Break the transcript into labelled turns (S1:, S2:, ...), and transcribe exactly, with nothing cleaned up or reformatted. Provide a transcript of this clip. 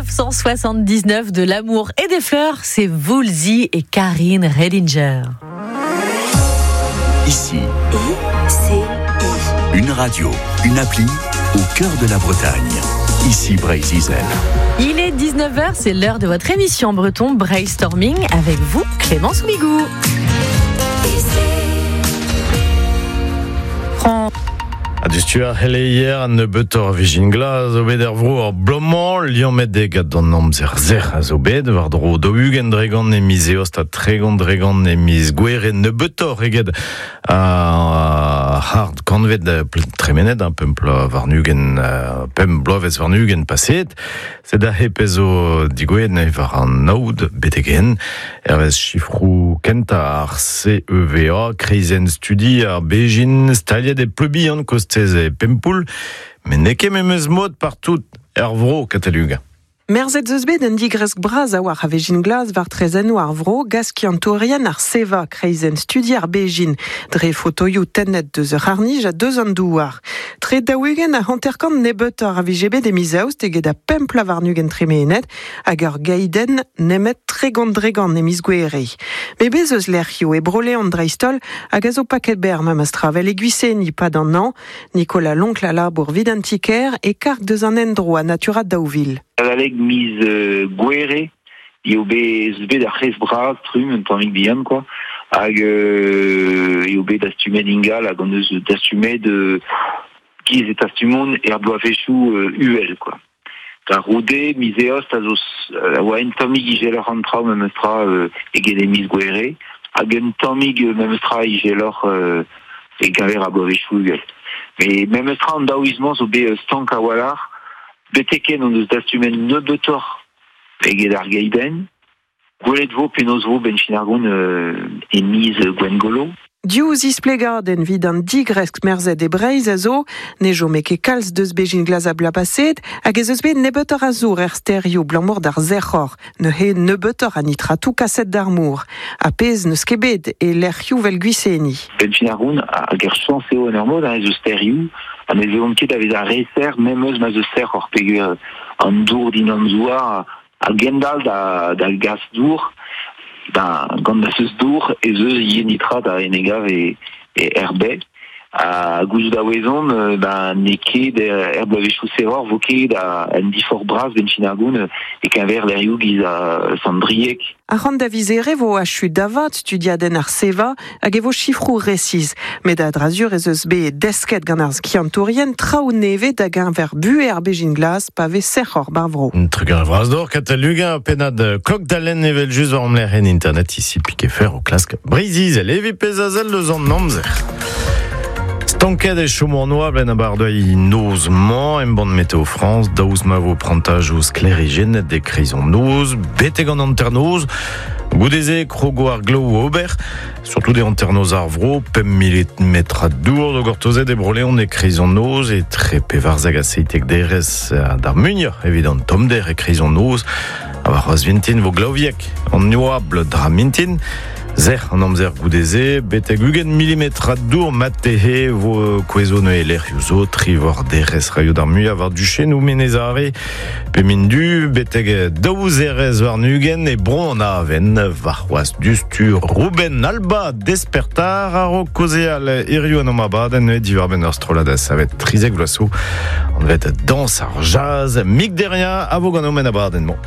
S1: mille neuf cent soixante-dix-neuf, de l'amour et des fleurs, c'est Woolsey et Karine Redinger.
S2: Ici,
S3: I C I.
S2: Une radio, une appli au cœur de la Bretagne. Ici Breizh Izel.
S1: Il est dix-neuf heures, c'est l'heure de votre émission breton Brainstorming avec vous, Clémence Bigou. Prends.
S4: A dustu ar c'heleier an nebeutoc'h a vijin glas zo bet er vro ar blomañ, liammet eo gant an amzer sec'h a zo bet, war-dro daou-ugent dregont e miz eost ha tregont dregont e miz gouere nebeutoc'h eget ar c'hard kantved tremenet, un pemp bloaz warn-ugent, pemp bloavezh warn-ugent paseet. Sed aze pezh zo digouezhet neuze war an aod betek-henn. Hervez sifroù kentañ ar C E V A, kreizenn studi ar Bejin, staliet e Pleubihan kostez e Pempoull, met n'eo ket memes mod partout er vro Kataluga.
S5: Merzet zeus bet un digresk bras a war a vejin glas war trezennoù ar vro, gaskiantourien ar seva kreizenn studi ar Bejin, dre fotoioù tennet deus ur c'harnij a deus an douar. Tre daou-ugent a hanterkant nebeutoc'h a vije bet e miz eost eget a pemp pla warn-ugent tremenet hag ur gaidenn nemet tregont dregant e miz gouere. Met bez eus lec'hioù e Bro-Leon dreist-holl hag a zo paket berr memes tra vel e Gwiseni pad an an, Nicolas Loncle a labour vid an ti-kêr e karg deus an endro a Natura daou vil.
S6: Adalek miz, euh, gouere, eo bet, eus bet ar c'hrez bras, trumm, un tammig bihan, quoi. Hag, euh, eo bet dastumet ingal, hag on eus dastumet, euh, giz e tastumont er bloavezhioù, euh, uhel, quoi. Da roude, miz eost a zo s-, euh, a oa un tammig izeloc'h an traoù memes tra, euh, eget e miz gouere, hag un tammig, euh, memes tra izeloc'h, euh, e gaver ar bloavezhioù uhel. Mais memes tra an daouizmañ zo bet, euh, stank a-walc'h, beteken on eus dastumet nebeutoc'h eget ar geidenn. Gwelet vo penaos vo ben fin ar gont, euh, e miz Gwengolo.
S5: Div zisplegadenn evit an digresk merzet e Breizh a zo, ne chome ket kalz deus bejin glas a bloaz paseet, hag ez eus bet nebeutoc'h a zour er sterioù blamour d'ar sec'hor, neuze nebeutoc'h a nitratoù kaset d'ar mor. Ha pezh n'eus ket bet e lec'hioù vel Gwiseni.
S6: Ben fin ar gont, hag er chañs eo en ur mod, hein, ez eus sterioù, ha ne vezont ket a vez ar reser, même eus ma eus sec'hor peogwir an dour din an zouar, a gendal da, da gas dour, da, gant da seus dour, ez eus ivez nitrat a enegav e, e R B. A gouzout a wezon, euh, ben, n'eo ket er, er bloavezhioù serroc'h, vo ket a un difor bras ben fin ar gont, e keñver lec'hioù giz a Sandriek.
S5: Ar c'hant da vizere vo achu davat studiadenn ar seva hag e vo sifroù resiz. Met a dra-zur ez eus bet desket gant ar skiantourien traoù nevez da geñver bu er bejin glas pa vez sec'hoc'h bar vro.
S4: Un truc ar vras d'or, Kataluga, pennad klok dalen evel just war amler en internet ici pique fer o klask Breizh Izel, evi pezh a sell deus an amzer. Stanket e chomo an oabl en abardaez noz-mañ, embann Météo France, daoust ma vo prantajoù sklêrijennet e kreiz an noz, betek an hanternoz, goude-se krogo ar glav ober, surtout e hanternoz ar vro, pemp milimetrad a dour zo gortozet e Bro-Leon e kreiz an noz, e tre pevarzek ha seitek derez d'ar muioc'h evit an tommder e kreiz an noz, ha war c'hoazh vintin vo glaviek an oabl dra mintin. Zer an amzer goude-se, betek ugent milimetrad dour matehe vo kouezo neuze lec'hioù zo, tri war derez raio d'ar muiañ war duchennoù Menez Are, pe mindu, betek daou zerez warn-ugent e bro an aven, war c'hoazh dustu Ruben Alba despertar a-raok kaozeal hiziv an amabadenn neuze diwar-benn ur strollad a savet trizek vloaz zo, anvet Dans ar Jazz, Mick Derrien a vo gant o men abadenn-mañ.